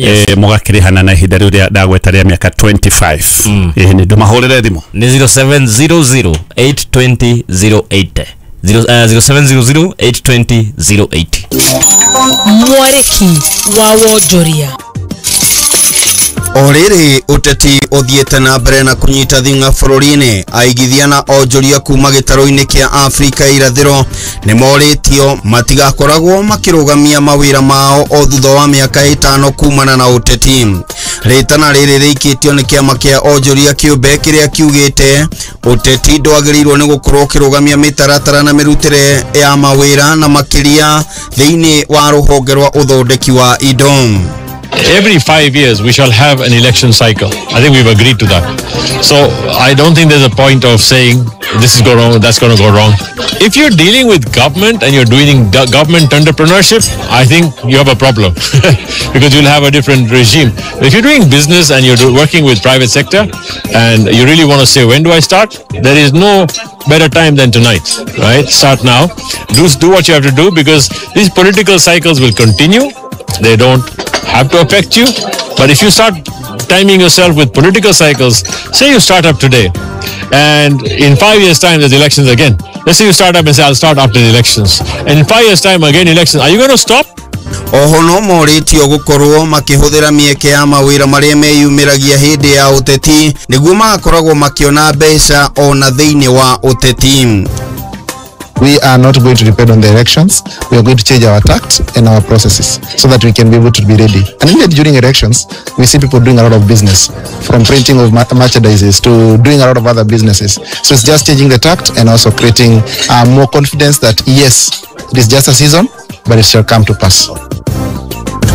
Yes. Mũgakĩrĩhana na ihinda rĩu rĩa ndagweta rĩa mĩaka 25. Ĩĩ, nĩ ndũmahũrĩre thimũ. Nĩ 0700 820 080. 0700 820 080. Mwarĩki wa wonjoria. O rĩrĩ ũteti ũthiĩte na mbere na kũnyita thing'a bũrũri-inĩ, aigithia na onjoria kuma gĩtarũ-inĩ kĩa Afrika irathĩro nĩ morĩtio matigakoragwo makĩrũgamia mawĩra mao o thutha wa mĩaka 5 kumana na ũteti. Rĩtana rĩrĩ rĩikĩtio nĩ kĩama kĩa onjoria kĩũmbe kĩrĩa kiugĩte ũteti ndwagĩrĩirwo nĩ gũkorwo ũkĩrũgamia mĩtaratara na mĩrutĩre ya mawĩra na makĩria thĩinĩ wa rũhonge rwa ũthondeki wa indo. Every 5 years we shall have an election cycle. I think we've agreed to that. So I don't think there's a point of saying this is going wrong, that's going to go wrong. If you're dealing with government and you're doing government entrepreneurship, I think you have a problem because you'll have a different regime. If you're doing business and you're working with private sector and you really want to say, when do I start? There is no better time than tonight, right? Start now. Do what you have to do, because these political cycles will continue. They don't have to affect you. But if you start timing yourself with political cycles, say you start up today and in 5 years time there's elections again. Let's say you start up and say, I'll start after the elections. And in 5 years time again elections. Are you going to stop? Oho no morĩtio gũkorwo makĩhũthĩra mĩeke ya mawĩra marĩa meyumĩragia hĩndĩ ya ũteti nĩguo magakoragwo makĩona mbeca ona thĩinĩ wa ũteti. We are not going to depend on the elections. We are going to change our tact and our processes so that we can be able to be ready. And indeed, during elections, we see people doing a lot of business, from printing of merchandises to doing a lot of other businesses. So it's just changing the tact and also creating more confidence that yes, it is just a season, but it shall come to pass.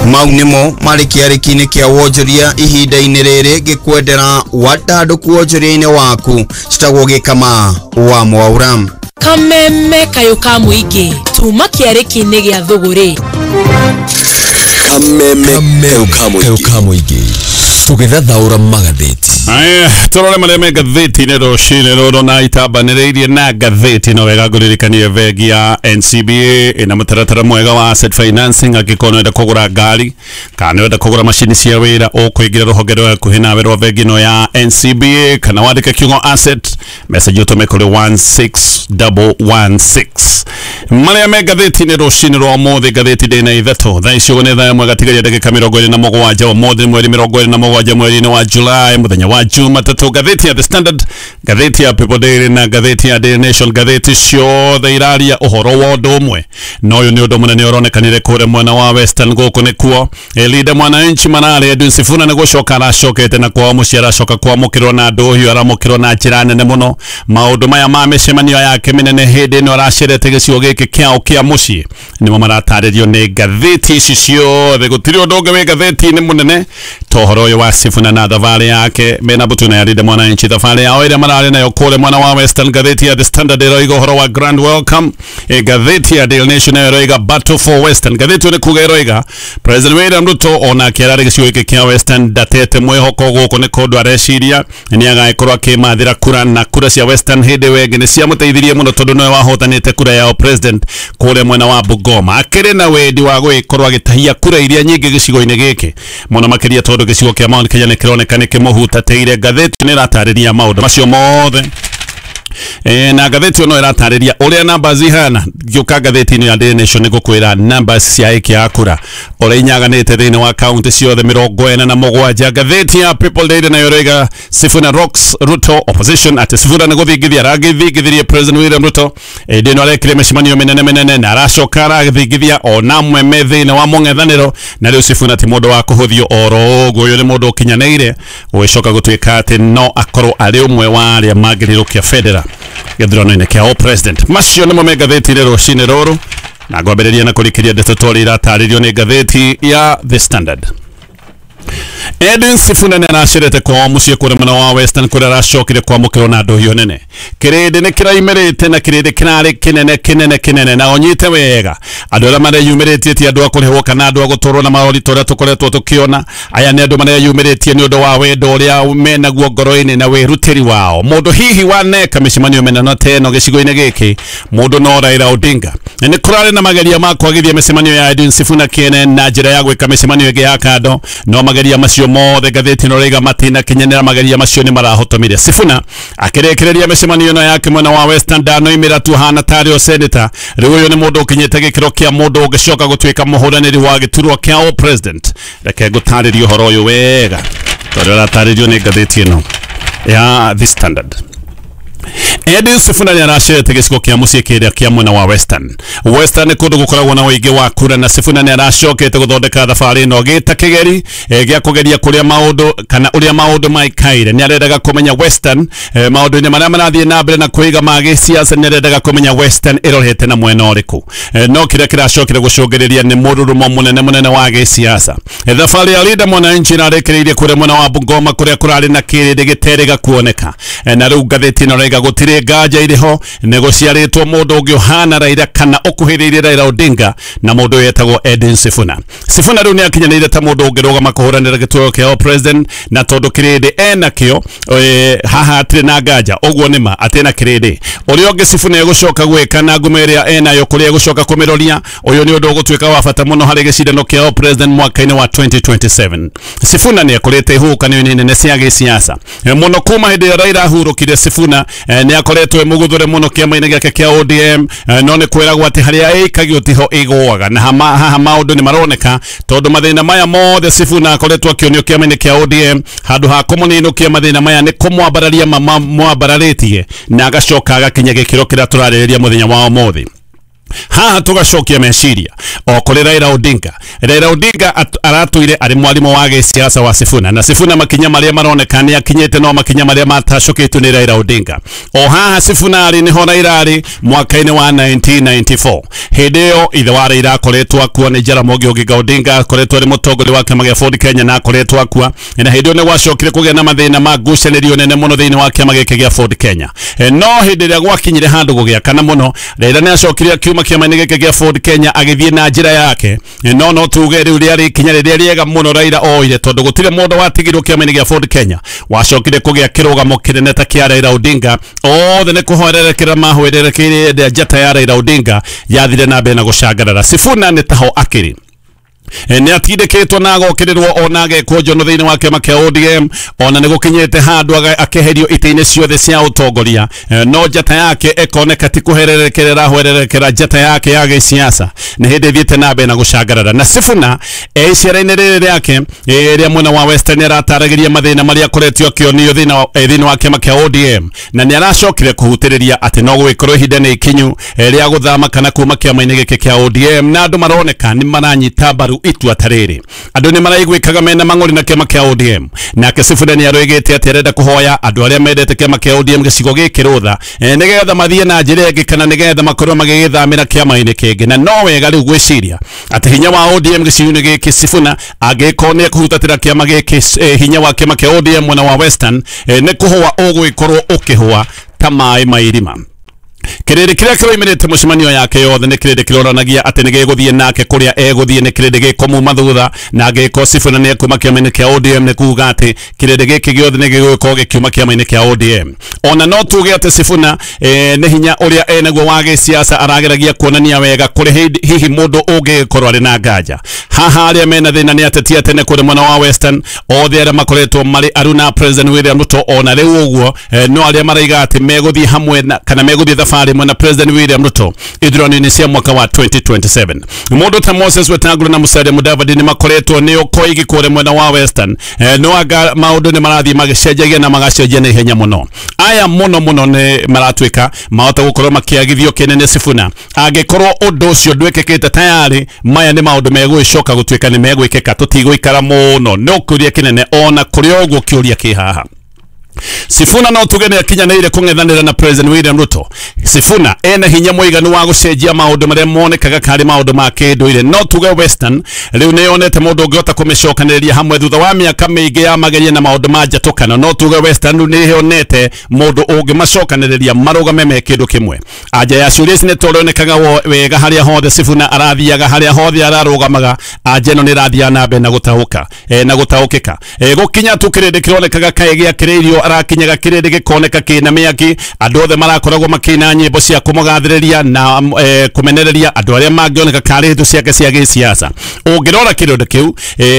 Mau nĩmo marĩ kĩarĩki-inĩ kĩa wonjoria ihinda-inĩ rĩrĩ ngĩkwendera wandandũku wonjoria-inĩ waku citagwo Gĩkama wa Mwaura. Kameme kayũ ka mũingĩ tuma kĩarĩki-inĩ gĩa thũgũrĩ. Kameme kayũ ka mũingĩ tũgĩthathaũra magathĩti. Aya, tũrore marĩa me ngathĩti-inĩ rũcinĩ rũrũ na itambanĩrĩirie na ngathĩti. No wega ngũririkanie bengi ya NCBA ĩna mũtaratara mwega wa asset financing. Angĩkorwo nĩwenda kũgũra ngari kana nĩwenda kũgũra macini cia wĩra, ũkũingĩra rũhonge rwa hakuhĩ nawe rwa bengi ĩno ya NCBA kana wandĩke kiugo asset message ũtũme kũrĩ 16116. Marĩa me ngathĩti-inĩ rũcinĩ rwa ũmũthĩ, ngathĩti ndĩna ithatũ thaa ici ũguo nĩ thaa ĩmwe gatigaria ndagĩka 27 ũmũthĩ mweri 27 mweri-inĩ wa July mũthenya wa Jumatatũ. Ngathĩti ya The Standard, ngathĩti ya People Daily na ngathĩti ya Daily Nation, ngathĩti ciothe iraria ũhoro wa ũndũ ũmwe, na ũyũ nĩ ũndũ mũnene ũronekanire kũrĩa mwena wa Western. Gũkũ nĩkuo Linda Mwananchi mararĩ Edwin Sifuna nĩ gũcoka aracokete na kwao mũciĩ, aracoka kwamũkĩrwo na ndũhiũ, aramũkĩrwo na njĩra nene mũno. Maũndũ maya ma mĩcemanio yake mĩnene hĩndĩ ĩno aracerete gĩcigo gĩkĩ kĩao kĩa mũciĩ nĩmo maratarĩrio nĩ ngathĩti ici ciothe. Gũtirĩ ũndũ ũngĩ wĩ ngathĩti-inĩ mũnene ta ũhoro ũyũ wa Sifuna na thabarĩ yake mena mbũtũ na ya Linda Mwananchi, thabarĩ yao ĩrĩa mararĩ nayo kũrĩa mwena wa Western. Ngathĩti ya The Standard ĩroiga ũhoro wa Grand Welcome. Ngathĩti ya Daily Nation nayo ĩroiga Battle for Western. Ngathĩti ĩyo nĩ kuga ĩroiga President William Ruto onake ararĩ gĩcigo gĩkĩ kĩa Western ndatete mwĩhoko gũkũ nĩ kũndũ areciria nĩ agagĩkorwo akĩmathĩra kura, na kura cia Western hĩndĩ ĩyo ĩngĩ nĩ ciamũteithirie mũno tondũ nĩwe wahotanĩte kura yao president kũrĩa mwena wa Bungoma. Akĩrĩ na wendi wa gũgĩkorwo agĩtahia kura iria nyingĩ gĩcigo-inĩ gĩkĩ mũno makĩria tondũ gĩcigo kĩa Mount Kenya nĩ kĩroneka nĩ kĩmũhutatĩire. Ngathĩti nĩ ĩratarĩria maũndũ macio mothe. Na ngathĩti ĩno ĩratarĩria ũrĩa numbers ihana. Ngĩũka ngathĩti-inĩ ya Daily Nation nĩ ngũkwĩra numbers cia aikia a kura ũrĩa inyaganĩte thĩinĩ wa kaunti ciothe 47. Ngathĩti ya People Daily nayo ĩroiga Sifuna rocks Ruto opposition, atĩ Sifuna nĩ gũthingithia aragĩthingithirie President William Ruto hĩndĩ ĩno arekire mĩcemanio mĩnene mĩnene na aracoka arathingithia ona amwe me thĩinĩ wa mũng'ethanĩro, na rĩu Sifuna ti mũndũ wa kũhũthio oro ũguo, ũyũ nĩ mũndũ ũkinyanĩire gũgĩcoka gũtuĩka atĩ no akorwo arĩ ũmwe wa arĩa mangĩrĩrũkia bendera gĩthurano-inĩ kĩa president. Macio nĩmo me ngathĩti-inĩ rũcinĩ rũrũ, na ngwambĩrĩria na kũrĩkĩria ndeto tũrĩa iratarĩrio nĩ ngathĩti ya The Standard. Edwin Sifuna nĩ aracerete kwao mũciĩ kũrĩa mwena wa Western kũrĩa aracokire kwamũkĩrwo na ndũhiũ nene. Kĩrĩndĩ nĩ kĩraimĩrĩte na kĩrĩndĩ kĩrarĩ kĩnene kĩnene kĩnene, na ũnyite wega andũ arĩa mareyumĩrĩtie ti andũ a kũrĩhwo kana andũ a gũtũrwo na marori ta ũrĩa tũkoretwo tũkĩona. Aya nĩ andũ mareyumĩrĩtie nĩ ũndũ wa wendo ũrĩa menaguo ngoro-inĩ na wĩrutĩri wao. Mũndũ hihi waneka mĩcemanio mĩnene ta ĩno gĩcigo-inĩ gĩkĩ, mũndũ no Raila Odinga. Na nĩ kũrarĩ na mageria ma kwagithia mĩcemanio ya Edwin Sifuna kĩene na njĩra ya gwĩka mĩcemanio ĩngĩ ya kando, no mageria macio mothe ngathĩti ĩno rĩiga matinakinyanĩra, mageria macio nĩ marahotomire. Sifuna akĩrĩkĩrĩria mĩcemanio ĩno yake mwena wa Western ndanoimĩra tu hana tarĩ o senator. Rĩu ũyũ nĩ mũndũ ũkinyĩte gĩkĩro kĩa mũndũ ũngĩcoka gũtuĩka mũhũranĩri wa gĩturwa kĩa o president. Reke ngũtarĩrie ũhoro ũyũ wega tondũ ũratarĩrio nĩ ngathĩti ĩno ya The Standard. Edwin Sifuna nĩ aracerete gĩcigo kĩa mũciĩ kĩrĩa kĩa mwena wa Western. Western nĩ kũndũ gũkoragwo na ũingĩ wa kura, na Sifuna nĩ aracokete gũthondeka thabarĩ ĩno gĩta kĩgeri gĩa kũgeria kũrĩa maũndũ kana ũrĩa maũndũ maikaire. Nĩ arendaga kũmenya Western maũndũ-inĩ marĩa marathiĩ na mbere na kwĩiga ma gĩsiasa, nĩ arendaga kũmenya Western ĩrorete na mwena ũrĩkũ. No kĩrĩa kĩracokire gũcũngĩrĩria nĩ mũrurumo mũnene mũnene wa gĩsiasa. Thabarĩ ya Linda Mwananchi ĩrarĩkĩrĩirie kũrĩa mwena wa Bungoma kũrĩa kũrarĩ na kĩrĩndĩ gĩterĩga kuoneka. Na rĩu ngathĩti ĩno ĩrauga gũtirĩ nganja irĩ ho nĩ gũciarĩtwo mũndũ ũngĩ ũhana Raila kana ũkuhĩrĩirie Raila Odinga na mũndũ wetagwo Edwin Sifuna. Sifuna rĩu nĩ akinyanĩire ta mũndũ ũngĩrũgama kũhũranĩra gĩturwa kĩa president, na tondũ kĩrĩndĩ ena kĩo haha hatirĩ na nganja, ũguo nĩ ma atĩ na kĩrĩndĩ. Ũrĩa ũngĩ Sifuna egũcoka gwĩka na ngumo ĩrĩa enayo kũrĩa egũcoka kũmĩroria, ũyũ nĩ ũndũ ũgũtuĩka wa bata mũno harĩ gĩcindano kĩa president mwaka-inĩ wa 2027. Sifuna nĩ akorete ihuhũkanio-inĩ nene cia gĩsiasa mũno kuma hĩndĩ ĩrĩa Raila ahurũkire. Sifuna nĩ akoretwo mũgũthũre mũno kĩama-inĩ gĩake kĩa ODM, no nĩ kwĩragwo atĩ harĩa ĩikagio tiho ĩgũaga, na haha maũndũ nĩ maroneka tondũ mathĩna maya mothe Sifuna akoretwo akĩonio kĩama-inĩ kĩa ODM, handũ ha kũmũninũkia mathĩna maya nĩ kũmwambararia mamwambararĩtie na agacoka agakinya gĩkĩro kĩrĩa tũrarĩrĩria mũthenya wa ũmũthĩ. Haha tugacokia meciria o kũrĩ Raila Odinga. Raila Odinga aratũire arĩ mwarimũ wa gĩsiasa wa Sifuna, na Sifuna makinya marĩa maroneka nĩ akinyĩte no makinya marĩa matacũkĩtwo nĩ Raila Odinga. O haha Sifuna arĩ nĩho Raila arĩ mwaka-inĩ wa 1994. Hĩndĩ ĩyo ithe wa Raila akoretwo akua nĩ Jaramogi Oginga Odinga, akoretwo arĩ mũtongoria wa kĩama gĩa Ford Kenya na akoretwo akua, na hĩndĩ ĩyo nĩ gwacokire kũgĩa na mathĩna ma ngucanĩrio nene mũno thĩinĩ wa kĩama gĩkĩ gĩa Ford Kenya. No hĩndĩ ĩrĩa gwakinyire handũ gũgĩakana mũno, Raila nĩ acokire akiuma kĩama-inĩ gĩkĩ gĩa Ford Kenya agĩthiĩ na njĩra yake. No tuge rĩu rĩarĩ ikinya rĩrĩa rĩega mũno Raila oire, tondũ gũtirĩ mũndũ watigirwo kĩama-inĩ gĩa Ford Kenya wacokire kũgĩa kĩrũgamo kĩnene ta kĩa Raila Odinga. Othe nĩ kũhoererekera mahwererekeire njata ya Raila Odinga yathire na mbere na gũcangarara. Sifuna nĩ taho akĩrĩ nĩ atindĩkĩtwo na agokĩrĩrwo ona agekwo njono thĩinĩ wa kĩama kĩa ODM, ona nĩ gũkinyĩte handũ akeherio itĩ-inĩ ciothe cia ũtongoria, no njata yake ĩkoneka ti kũhererekera ĩrahwererekera njata yake ya gĩsiasa nĩ hĩndĩ ĩthiĩte na mbere na gũcangarara. Na Sifuna icera-inĩ rĩrĩ rĩake rĩa mwena wa Western arataragĩria mathĩna marĩa akoretwo akĩonio thĩinĩ wa kĩama kĩa ODM, na nĩ aracokire kũhutĩrĩria atĩ no gũgĩkorwo ihinda nĩ ikinyu rĩa gũthama kana kuma kĩama-inĩ gĩkĩ kĩa ODM, na andũ maroneka nĩ maranyita mbaru itua ta rĩrĩ. Andũ nĩ maraiguĩkaga mena mang'ũrĩ na kĩama kĩa ODM, nake Sifuna nĩ aroigĩte atĩ arenda kũhoya andũ arĩa mendete kĩama kĩa ODM gĩcigo gĩkĩ rũtha nĩgetha mathiĩ na njĩra ĩngĩ kana nĩgetha makorwo magĩgĩthamĩra kĩama-inĩ kĩngĩ. Na no wega rĩu gwĩciria atĩ hinya wa ODM gĩcigo-inĩ gĩkĩ Sifuna angĩkorwo nĩ ekũhutatĩra kĩama gĩkĩ, hinya wa kĩama kĩa ODM mwena wa Western nĩ kũhũa ũgũgĩkorwo ũkĩhũa ta maĩ ma irima. Kĩrĩndĩ kĩrĩa kĩroimĩrĩte mũcemanio yake yothe nĩ kĩrĩndĩ kĩronanagia atĩ nĩ gĩgũthiĩ nake kũrĩa egũthiĩ, nĩ kĩrĩndĩ gĩkũmuma thutha, na angĩkorwo Sifuna nĩ ekuma kĩama-inĩ kĩa ODM nĩ kuga atĩ kĩrĩndĩ gĩkĩ gĩothe nĩ gĩgũkorwo gĩkiuma kĩama-inĩ kĩa ODM. Ona no tuge atĩ Sifuna nĩ hinya ũrĩa enaguo wa gĩsiasa arageragia kuonania wega kũrĩ hihi mũndũ ũngĩgĩkorwo arĩ na nganja. Haha arĩa mena thĩna nĩ ateti a tene kũrĩ mwena wa Western, othe arĩa makoretwo marĩ aruna President William Ruto, ona rĩu ũguo no arĩa maraiga atĩ megũthiĩ hamwe kana megũthiĩ thabarĩ mwena President William Ruto ithurano-inĩ cia mwaka wa 2027. Mũndũ ta Moses Wetangula na Musalia Mudavadi nĩ makoretwo nĩ koigi kũrĩ mwena wa Western, no anga maũndũ nĩ marathiĩ magĩcenjagia na magacenjia na ihenya mũno. Aya mũno mũno nĩ maratuĩka mahota gũkorwo makĩagithio kĩnene Sifuna angĩkorwo ũndũ ũcio ndwĩkĩkĩte tayari. Maya nĩ maũndũ megũgĩcoka gũtuĩka nĩ megwĩkĩka, tũtigũikara mũno. No kĩũria kĩnene ona kũrĩ ũguo kĩũria kĩ haha. Sifuna no tuge nĩ akinyanĩire kũng'ethanĩra na President William Ruto. Sifuna ena hinya mũiganu wa gũcenjia maũndũ marĩa monekaga karĩ maũndũ ma kĩndũire. No tuge Western rĩu nĩ yonete mũndũ ũngĩhota kũmĩcokanĩrĩria hamwe thutha wa mĩaka mĩingĩ ya mageria na maũndũ ma njatũkano. No tuge Western rĩu nĩ yonete mũndũ ũngĩmacokanĩrĩria marũgame me kĩndũ kĩmwe. Anja ya ciũria ici nĩ tũronekaga wega harĩa hothe Sifuna arathiaga, harĩa hothe ararũgamaga, anja ĩno nĩ ĩrathiaga na mbere na gũtaũka na gũtaũkĩka. Gũkinya tu kĩrĩndĩ kĩronekaga kaĩ gĩakĩrĩirio arakinyaga kĩrĩndĩ gĩkoneka kĩna mĩaki, andũ othe marakoragwo makĩina nyĩmbo cia kũmũgathĩrĩria na kũmenereria andũ arĩa mangĩoneka karĩ thũ ciake cia gĩsiasa. Ũngĩrora kĩrĩndĩ kĩu,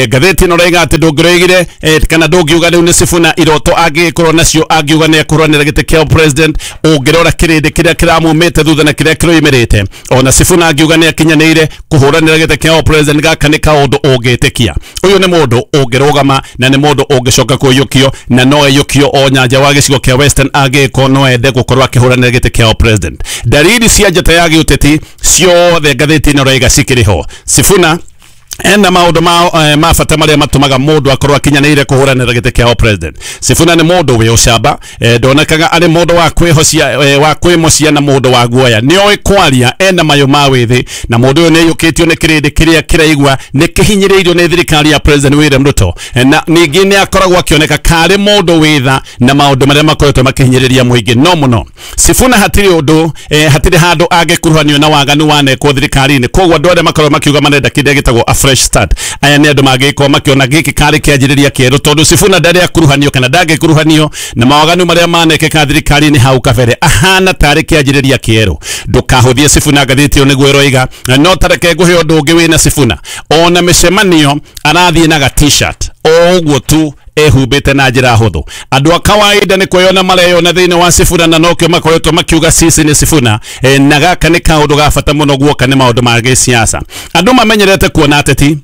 ngathĩti ĩno ĩroiga atĩ ndũngĩroigire kana ndũngiuga rĩu nĩ Sifuna iroto angĩgĩkorwo nacio, angiuga nĩ ekũrũanĩra gĩtĩ kĩa president. Ũngĩrora kĩrĩndĩ kĩrĩa kĩramumĩte thutha na kĩrĩa kĩroimĩrĩte, ona Sifuna angiuga nĩ akinyanĩire kũhũranĩra gĩtĩ kĩa president, gaka nĩ kaũndũ ũngĩtĩkia. Ũyũ nĩ mũndũ ũngĩrũgama na nĩ mũndũ ũngĩcoka kũiyũkio na no aiyũkio o nyanja wa gĩcigo kĩa Western angĩkorwo no ende gũkorwo akĩhũranĩra gĩtĩ kĩa president. Dalili cia njata ya gĩũteti ciothe ngathĩti ĩno ĩroiga cikĩrĩ ho. Sifuna ena maũndũ ma bata marĩa matũmaga mũndũ akorwo akinyanĩire kũhũranĩra gĩtĩ kĩa president. Sifuna nĩ mũndũ wĩ ũcamba, ndonekaga arĩ mũndũ wa kwĩhocia, wa kwĩmocia na mũndũ wa guoya. Nĩoĩ kwaria, ena mayũ ma wĩthĩ, na mũndũ ũyũ nĩaiyũkĩtio nĩ kĩrĩndĩ kĩrĩa kĩraigua nĩ kĩhinyĩrĩirio nĩ thirikari ya President William Ruto. Na ningĩ nĩ akoragwo akĩoneka karĩ mũndũ wĩ tha na maũndũ marĩa makoretwo makĩhinyĩrĩria mũingĩ no mũno. Sifuna hatirĩ ũndũ, hatirĩ handũ angĩkuruhanio na waganu wanekwo thirikari-inĩ. Koguo andũ arĩa makoragwo makiuga marenda kĩrĩa gĩtagwo a fresh start, aya nĩ andũ mangĩkorwo makĩona gĩkĩ karĩ kĩanjĩrĩria kĩerũ, tondũ Sifuna ndarĩ akuruhanio kana ndangĩkuruhanio na mawaganu marĩa manekĩka thirikari-inĩ hau kabere, ahana tarĩ kĩanjĩrĩria kĩerũ. Ndũkahũthie Sifuna, ngathĩti ĩyo nĩguo ĩroiga. No tareke ngũhe ũndũ ũngĩ wĩna Sifuna, ona mĩcemanio arathiĩ na ga t-shirt o ũguo tu ehumbĩte na njĩra hũthũ. Andũ a kawaida nĩ kwĩyona mareyona thĩinĩ wa Sifuna na nokĩo makoretwo makiuga sisi nĩ Sifuna. Na gaka nĩ kaũndũ ga bata mũno guoka nĩ maũndũ ma gĩsiasa. Andũ mamenyerete kuona ateti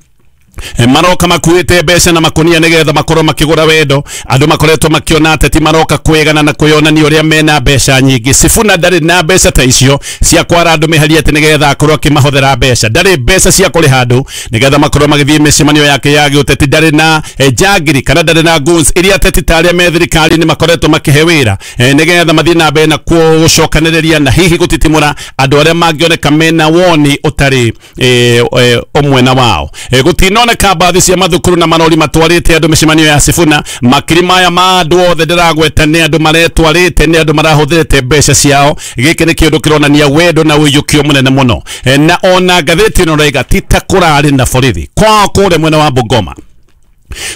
maroka makuĩte mbeca na makunia nĩgetha makorwo makĩgũra wendo. Andũ makoretwo makĩona ateti maroka kwĩgana na kwĩonania ũrĩa mena mbeca nyingĩ. Sifuna ndarĩ na mbeca ta icio cia kwara andũ mĩhari atĩ nĩgetha akorwo akĩmahũthĩra mbeca. Ndarĩ mbeca cia kũrĩha andũ nĩgetha makorwo magĩthiĩ mĩcemanio yake ya gĩũteti. Ndarĩ na njangiri kana ndarĩ na goons iria ateti ta arĩa me thirikari-inĩ makoretwo makĩhe wĩra nĩgetha mathiĩ na mbere na gũcokanĩrĩria na hihi gũtitimũra andũ arĩa mangĩoneka mena woni ũtarĩ ũmwe na wao. Gũtinoneka mbathi cia mathukuru na marori matwarĩte andũ mĩcemanio ya Sifuna. Makiri maya ma andũ othe ndĩragweta nĩ andũ maretwarĩte, nĩ andũ marahũthĩrĩte mbeca ciao. Gĩkĩ nĩ kĩũndũ kĩronania wendo na ũiyũkio mũnene mũno. Na ona ngathĩti ĩno ĩroiga ti ta kũrarĩ na borithi kwao kũrĩa mwena wa Bungoma.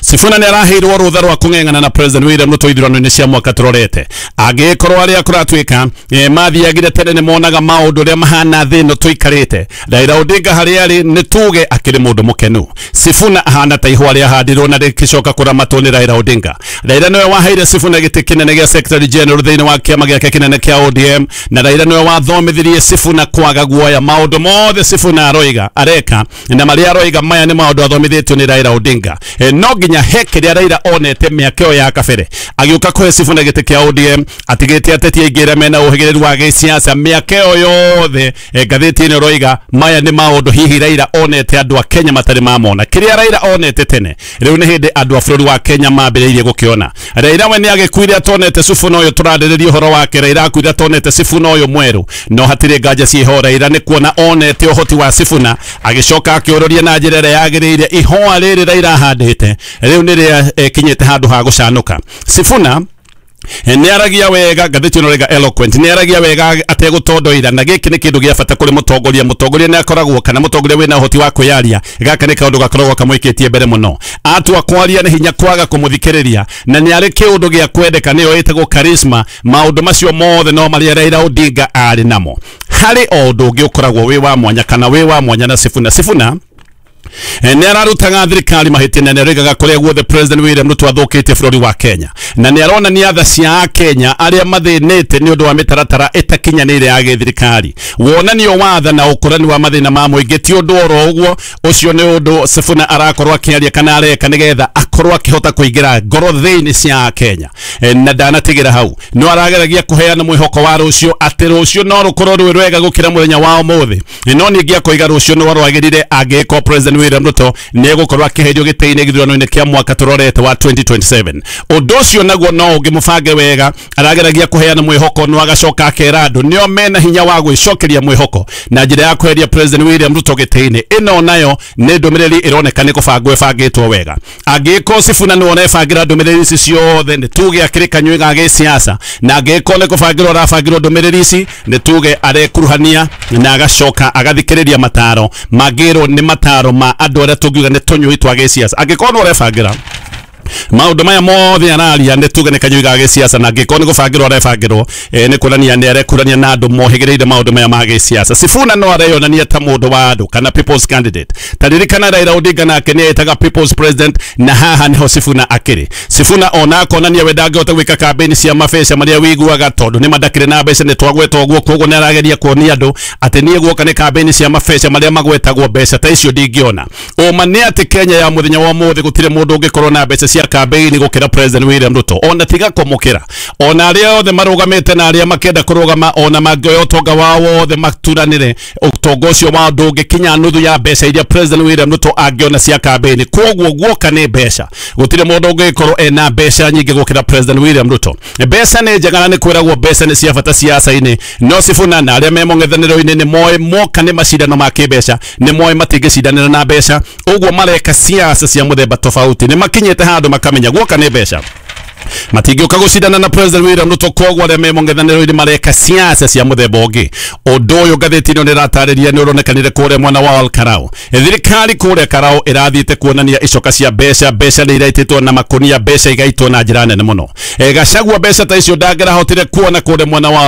Sifuna nĩ araheirwo rũtha rwa kũng'eng'ana na President William Ruto ithurano-inĩ cia mwaka tũrorete. Angĩkorwo arĩa kũratuĩka mathiagire tene nĩ monaga maũndũ ũrĩa mahana thĩ ĩno tũikarĩte, Raila Odinga harĩa arĩ nĩ tuge akĩrĩ mũndũ mũkenu. Sifuna ahana ta ihũa rĩahandirwo na rĩgĩcoka kũramatwo nĩ Raila Odinga. Raila nĩwe waheire Sifuna gĩtĩ kĩnene gĩa Secretary General thĩinĩ wa kĩama gĩake kĩnene kĩa ODM, na Raila nĩwe wathomithirie Sifuna kwaga guoya. Maũndũ mothe Sifuna aroiga areka na marĩa aroiga maya nĩ maũndũ athomithĩtio nĩ Raila Odinga. No nginya he kĩrĩa Raila onete mĩaka ĩyo ya kabere agĩũka kũhe Sifuna gĩtĩ kĩa ODM, atigĩte ateti aingĩ arĩa mena ũhĩgĩrĩru wa gĩsiasa mĩaka ĩyo yothe. Ngathĩti ĩno ĩroiga maya nĩ maũndũ hihi Raila onete andũ a Kenya matarĩ mamona. Kĩrĩa Raila onete tene rĩu nĩ hĩndĩ andũ a bũrũri wa Kenya mambĩrĩirie gũkĩona. Raila we nĩ agĩkuire atonete Sifuna ũyũ tũrarĩrĩria ũhoro wake. Raila akuire atonete Sifuna ũyũ mwerũ, no hatirĩ nganja ciĩho. Raila nĩ kuona onete ũhoti wa Sifuna, agĩcoka akĩũrũria na njĩra ĩrĩa yagĩrĩire. Ihũa rĩrĩ Raila ahandĩte rĩu nĩ rĩakinyĩte handũ ha gũcanũka. Sifuna nĩ aragia wega, ngathĩti ĩno ĩroiga eloquent, nĩ aragia wega ategũtondoira, na gĩkĩ nĩ kĩndũ gĩa bata kũrĩ mũtongoria. Mũtongoria nĩ akoragwo kana mũtongoria wĩna ũhoti wa kwĩyaria, gaka nĩ kaũndũ gakoragwo kamũikĩtie mbere mũno. Atua kwaria nĩ hinya kwaga kũmũthikĩrĩria, na nĩ arĩ kĩũndũ gĩa kwendeka, nĩyo ĩtagwo charisma. Maũndũ macio mothe no marĩa Raila Odinga arĩ namo. Harĩ o ũndũ ũngĩ ũkoragwo wĩ wa mwanya kana wĩ wa mwanya na Sifuna. Sifuna nĩ ararutaga thirikari mahĩtia na nĩ aroigaga kũrĩa guothe President William Ruto athũkĩtie bũrũri wa Kenya, na nĩ aronania tha cia Akenya arĩa mathĩnĩte nĩ ũndũ wa mĩtaratara ĩtakinyanĩire ya gĩthirikari. Wonanio wa tha na ũkũrani wa mathĩna ma mũingĩ ti ũndũ oro ũguo. Ũcio nĩ ũndũ Sifuna arakorwo akĩaria kana areka nĩgetha akorwo akĩhota kũingĩra ngoro thĩinĩ cia Akenya. Na ndanatigĩra hau, no arageragia kũheana mwĩhoko wa rũciũ atĩ rũciũ no rũkorwo rwĩ rwega gũkĩra mũthenya wa ũmũthĩ. No ningĩ akoiga rũciũ no rwagĩrĩre angĩkorwo President William Ruto nĩ egũkorwo akĩherio gĩtĩ-inĩ gĩthurano-inĩ kĩa mwaka tũrorete wa 2027. Ũndũ ũcio naguo no ũngĩmũbange wega, arageragia kũheana mwĩhoko no agacoka akera andũ nĩo mena hinya wa gwĩcokeria mwĩhoko na njĩra ya kweheria President William Ruto gĩtĩ-inĩ. Ĩno nayo nĩ ndũmĩrĩri ĩroneka nĩ kũbangwo ĩbangĩtwo wega. Angĩkorwo Sifuna nĩwe ũrebangĩra ndũmĩrĩri ici ciothe, nĩ tuge akĩrĩ kanyui ga gĩsiasa, na angĩkorwo nĩ kũbangĩrwo arabangĩrwo ndũmĩrĩri ici, nĩ tuge arekuruhania na agacoka agathikĩrĩria mataro mangĩrwo nĩ mataro ma andũ arĩa tũngiuga nĩ tũnyui twa gĩsiasa. Angĩkorwo nĩwe ũrebangĩra maũndũ maya mothe araria, nĩ tuge nĩ kanyui ga gĩsiasa, na angĩkorwo nĩ gũbangĩrwo arebangĩrwo, nĩ kuonania nĩ arekurania na andũ mohĩgĩrĩire maũndũ maya ma gĩsiasa. Sifuna no areyonania ta mũndũ wa andũ kana people's candidate. Ta ririkana Raila Odinga nake nĩ etaga people's president, na haha nĩho Sifuna akĩrĩ. Sifuna ona akonania we ndangĩhota gwĩka kambĩini cia mabeca marĩa wĩiguaga tondũ nĩ mandakĩrĩ na mbeca, nĩ twagweta ũguo, koguo nĩ arageria kuonia andũ atĩ niĩ guoka nĩ kambĩini cia mabeca marĩa magwetagwo mbeca ta icio ndingĩona. Ũma nĩ atĩ Kenya ya mũthenya wa ũmũthĩ gũtirĩ mũndũ ũngĩkorwo na mbeca cia kambĩini gũkĩra President William Ruto, ona tiga kũmũkĩra, ona arĩa othe marũgamĩte na arĩa makĩenda kũrũgama, ona mangĩoya ũtonga wao wothe maturanĩre, ũtonga ũcio wao ndũngĩkinya nuthu ya mbeca iria President William Ruto angĩona cia kambĩini. Koguo guoka nĩ mbeca, gũtirĩ mũndũ ũngĩkorwo ena mbeca nyingĩ gũkĩra President William Ruto. Mbeca nĩ njega na nĩ kwĩragwo mbeca nĩ cia bata siasa-inĩ, no Sifuna na arĩa me mũng'ethanĩro-inĩ nĩ moĩ moka nĩ macindano ma kĩmbeca, nĩ moĩ matingĩcindanĩra na mbeca, ũguo mareka siasa cia mũthemba tofauti. Nĩ makinyĩte handũ makamenya guoka nĩ mbeca, matingĩũka gũcindana na President William Ruto, koguo arĩa me mũng'ethanĩro-inĩ mareka siasa cia mũthemba ũngĩ. Ũndũ ũyũ ngathĩti ĩno nĩratarĩria nĩ ũronekanire kũrĩa mwena wa Ol Kalou. Thirikari kũrĩa Karau ĩrathiĩte kuonania icoka cia mbeca, mbeca nĩ iraitĩtwo na makunia, mbeca igaitwo na njĩra nene mũno. Gachagua mbeca ta icio ndangĩrahotire kuona kũrĩa mwena wa